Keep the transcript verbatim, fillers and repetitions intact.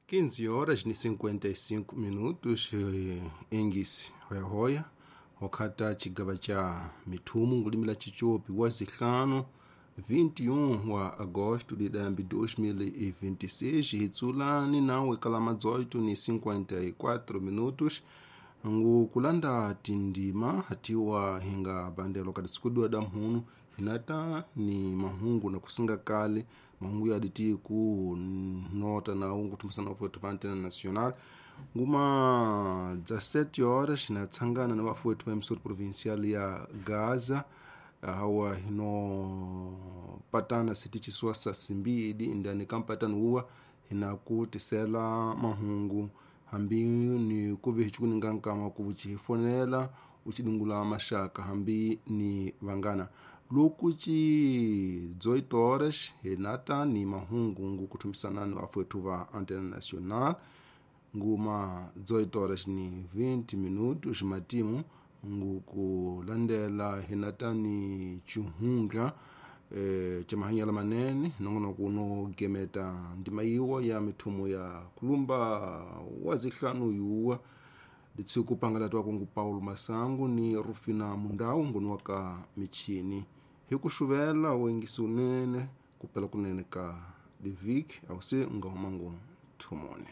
quinze horas ni cinquenta e cinco minutos, engisi hoyahoya wakhata chigaba cha mithumu ngulimila chichopi wa zihlanu vinte e um wa agosto de dambi dois mil e vinte e seis, hitsulani nawe kalama dezoito ni cinquenta e quatro minutos ngu kulanda tindima hatiwa hinga bandelo kati sikudua damhunu hinata ni mahungu na kusinga kale mahungu yaditi ku nota na ungu tumusana wetu pa Antena Nacional nguma dezessete horas hinatsangana na wafu wetu wa emissora provincial ya Gaza hawa hino patana siti chisua sa simbidi indani kampatano uwa hinakutisela mahungu hambi ni kuvi hichikuninga nkama kuvuchifonela uchidungula mashaka hambi ni vangana lukuchi dezoito horas hinata ni mahungu ngu kutumisana ni wafu wa Antena Nacional nguma dezoito horas ni vinte minutos matimu ngu kulandela hinata ni chihunga e, cha mahanyala manene nongono kuno gemeta ndima iwa ya mithumu ya kulumba wazihlanu yuwa litsiku pangala twakungu Paulo Masangu ni Rufina Mundau ngunu waka michini hikuxuvela wengisi unene kupela kunene ka livik awusi ngahumangu thumone.